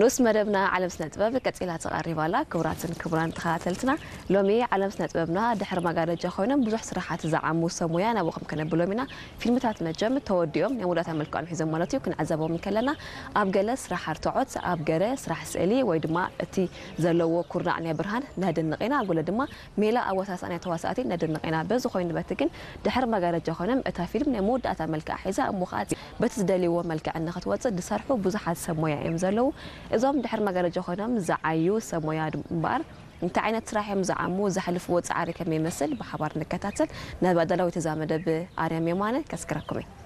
ንኡስ መደብና ዓለም ስነ ጥበብ ቀጺላ ተቐሪባ ኣላ። ክቡራትን ክቡራን ተኸታተልትና፣ ሎሚ ዓለም ስነ ጥበብና ድሕሪ መጋረጃ ኮይኖም ብዙሕ ስራሓት ዝዓሙ ሰብ ሞያ ናብኹም ከነብሎም ኢና። ፊልምታት መቸም ተወዲኦም ናይ መወዳእታ መልክዖም ሒዞም ማለት እዩ፣ ክንዕዘቦም ከለና ኣብ ገለ ስራሕ ኣርትዖት፣ ኣብ ገለ ስራሕ ስእሊ ወይ ድማ እቲ ዘለዎ ኩርናዕ ናይ ብርሃን ነድንቕ ኢና፣ ኣብ ገለ ድማ ሜላ ኣወሳስኣ ናይ ተዋሳእቲ ነድንቕ ኢና። በዚ ኮይኑ በቲ ግን ድሕሪ መጋረጃ ኮይኖም እታ ፊልም ናይ መወዳእታ መልክዓ ሒዛ እሞ ከዓ በቲ ዝደልይዎ መልክዕ ንክትወፅእ ዝሰርሑ ብዙሓት ሰብ ሞያ እዮም ዘለዉ። እዞም ድሕሪ መጋረጃ ኮይኖም ዝዓዩ ሰብ ሞያ እምበኣር እንታይ ዓይነት ስራሕ እዮም ዝዓሙ፣ ዘሕልፍዎ ፃዕሪ ከመይ ይመስል ብሓባር ንከታተል። ናብ ኣዳላዊት እዛ መደብ ኣርያም የማነ ከስክረኩም እየ።